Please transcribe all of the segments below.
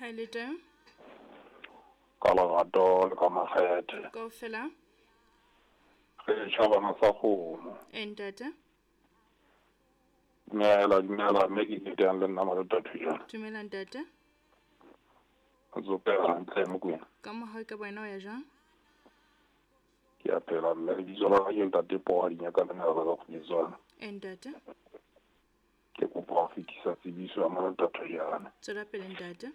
Ha e le teng. Ka lerato le ka makgethe. Kaofela. Re tjhabana sa kgomo. E ntate. Dumela, dumela, mme ke ketang le nna Malota Thujana. Dumela ntate. Ntse o phela hantle Mokwena. Ka mohau ka wena o ya jwang? Ke a phela mme lebitso la ka ke ntate Poa Dinyaka le Nala ka Kgweditswana. E ntate. Ke kopa ho fetisa tsebiso ya Malota Thujana. Tswela pele ntate.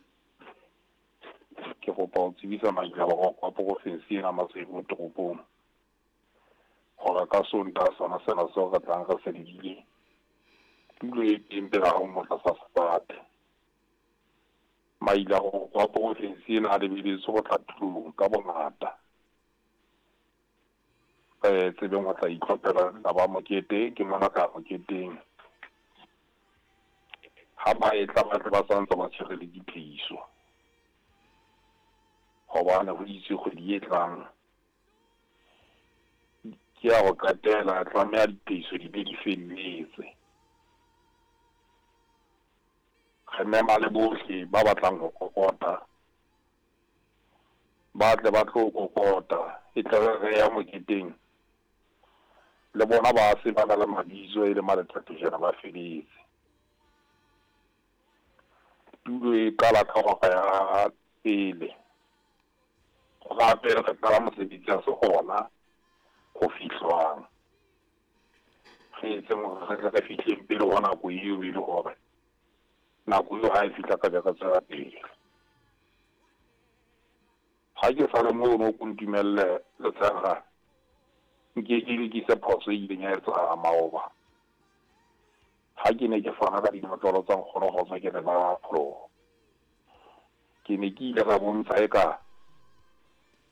Ke kopa ho tsebisa maikgabo a porofensi ena Maseru toropong. Hore ka Sontaha sona sena seo re tlang re se lebile tulo e teng pela hao mo tlasa sefate. Maila wa porofensi ena a lebeletswe ho tla tulong ka bongata. Re tsebeng ho tla itlhophela taba mokete ke mona ka moketeng. Ha ba etla ba tle ba santse ba tshwere le diphehiso. Hobane ho itswe kgwedi e tlang ke ya ho qetela tlameha diphehiso di be di felletse. Re mema le bohle ba batlang ho kokota ba tle ba tlo kokota e tle re re ya moketeng le bona ba se ba na le mabitso e le maletatejana ba feletse. Tulo e qala ka hora ya pele. Hora ya pele re qala mosebetsi ha se hona ho fihlwang. Re etseng hore re tle re fihleng pele ho nako eo e le hore nako eo ha e fihla ka be re tswela pele. Ha ke sa le mono ko ntumelle Letshega nke ke lokise phoso e ileng ya etsahala maoba. Ha ke ne ke fana ka dinotlolo tsa nkgono Kgotso ke le ba pholoho. Ke ne ke ile ka bontsha eka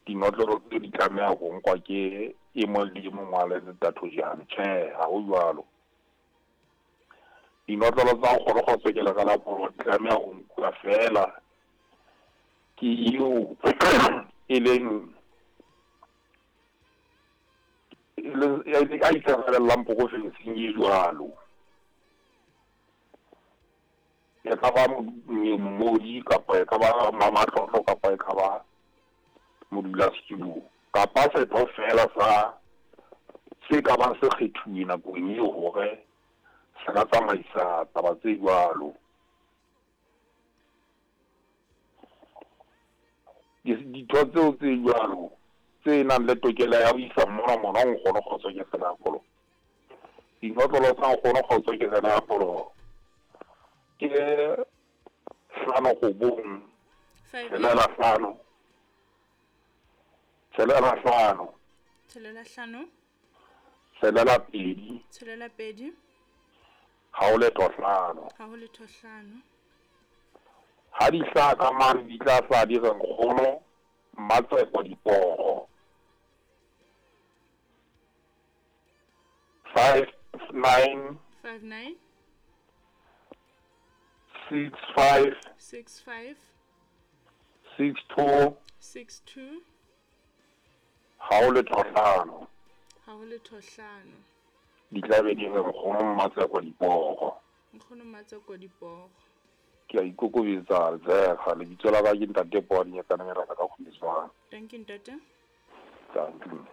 dinotlolo tseo di tlameha ho nkwa ke e mong le e mong wa Letathojane. Tjhe, ha ho jwalo. Dinotlolo tsa nkgono Kgotso ke le ka la pholoho di tlameha ho nkuwa feela ke eo e leng a ikarabellang porofenseng e jwalo. E ka ba mmodi kapa e ka ba mamatlotlo kapa e ka ba modulasetulo kapa setho feela sa se ka bang se kgethuwe nakong eo hore se ka tsamaisa taba tse jwalo. Ditho tseo tse jwalo tse nang le tokelo ya ho isa mona mona ho nkgono Kgotso ke tsela ya pholoho. Dinotlolo tsa nkgono Kgotso ke tsela ya pholoho ke 5 9 6 5 6 5 6 5 6 2 6 2 ha ho letho 5. Ha ho letho 5. Ha di hlaha ka mane di tla hlaha di re nkgono Mmatseko Diporo. 5 9 5 9 6 5 6 5 6 2 6 2 ha ho letho 5. Ha ho letho 5. Di tla be di re nkgono Mmatseko Diporo. Nkgono Mmatseko Diporo. Ke a ikokobetsa Letshega lebitso la ka ke ntate Poa Dinyakana Meraka ka Kgwediswana. Thank you ntate. Thank you.